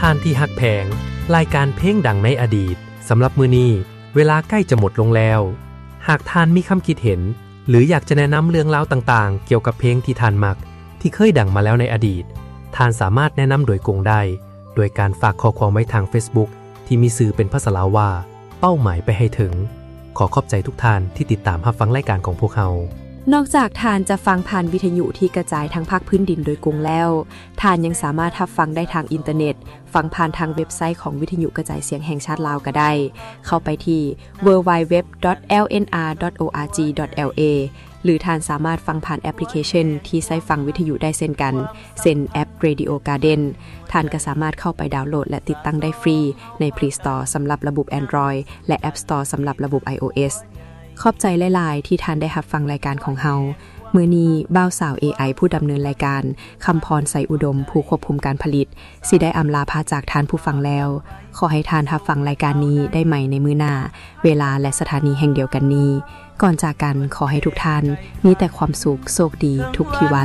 ທ່ານທີ່ຮັກແພງ, ລາຍການເພງດັງໃນອະດີດ ສຳລັບມື້ນີ້ ເວລາໃກ້ຈະໝົດລົງແລ້ວ. ຫາກທ່ານມີຄຳຄິດເຫັນ ຫຼື ຢາກຈະແນະນຳເລື່ອງລາວຕ່າງໆ ກ່ຽວກັບເພງທີ່ທ່ານມັກ ທີ່ເຄີຍດັງມາແລ້ວໃນອະດີດ, ທ່ານສາມາດແນະນຳໂດຍກົງໄດ້ ໂດຍການຝາກຂໍ້ຄວາມໄວ້ທາງ Facebook ທີ່ມີຊື່ເປັນພາສາລາວວ່າ ເປົ້າໝາຍໄປໃຫ້ເຖິງ. ຂໍຂອບໃຈທຸກທ່ານທີ່ຕິດຕາມຮັບຟັງລາຍການຂອງພວກເຮົາ. ນອກຈາກທ່ານຈະຟັງຜ່ານວິທະຍຸທີ່ກະຈາຍທັງພາກພື້ນດິນໂດຍກົງແລ້ວ, ທ່ານຍັງສາມາດຮັບຟັງໄດ້ທາງອິນເຕີເນັດ, ຟັງຜ່ານທາງເວັບໄຊຂອງວິທະຍຸກະຈາຍສຽງແຫ່ງຊາດລາວກໍໄດ້. ເຂົ້າໄປທີ່ www.lnr.org.la ຫຼື ທ່ານສາມາດຟັງຜ່ານແອັບພລິເຄຊັນທີ່ໃຊ້ຟັງວິທະຍຸໄດ້ເຊັ່ນກັນ, ເຊັ່ນແອັບ Radio Garden. ທ່ານກໍສາມາດເຂົ້າໄປດາວໂຫຼດ ແລະ ຕິດຕັ້ງໄດ້ຟຣີໃນ Play Store ສຳລັບລະບົບ Android ແລະ App Store ສຳລັບລະບົບ iOS. ຂອບໃຈຫຼາຍໆ ທີ່ທ່ານໄດ້ຮັບຟັງລາຍການຂອງເຮົາ. ມື້ນີ້ ບ່າວສາວ ເອໄອ ຜູ້ດຳເນີນລາຍການ, ຄຳພອນ ໄຊອຸດົມ ຜູ້ຄວບຄຸມການຜະລິດ, ຊິໄດ້ອຳລາພາຈາກທ່ານຜູ້ຟັງແລ້ວ. ຂໍໃຫ້ທ່ານຮັບຟັງລາຍການນີ້ໄດ້ໃໝ່ໃນມື້ໜ້າ, ເວລາ ແລະ ສະຖານີແຫ່ງດຽວກັນນີ້. ກ່ອນຈາກກັນ, ຂໍໃຫ້ທຸກທ່ານມີແຕ່ຄວາມສຸກ, ໂຊກດີ, ທຸກທີ່ວ່າ.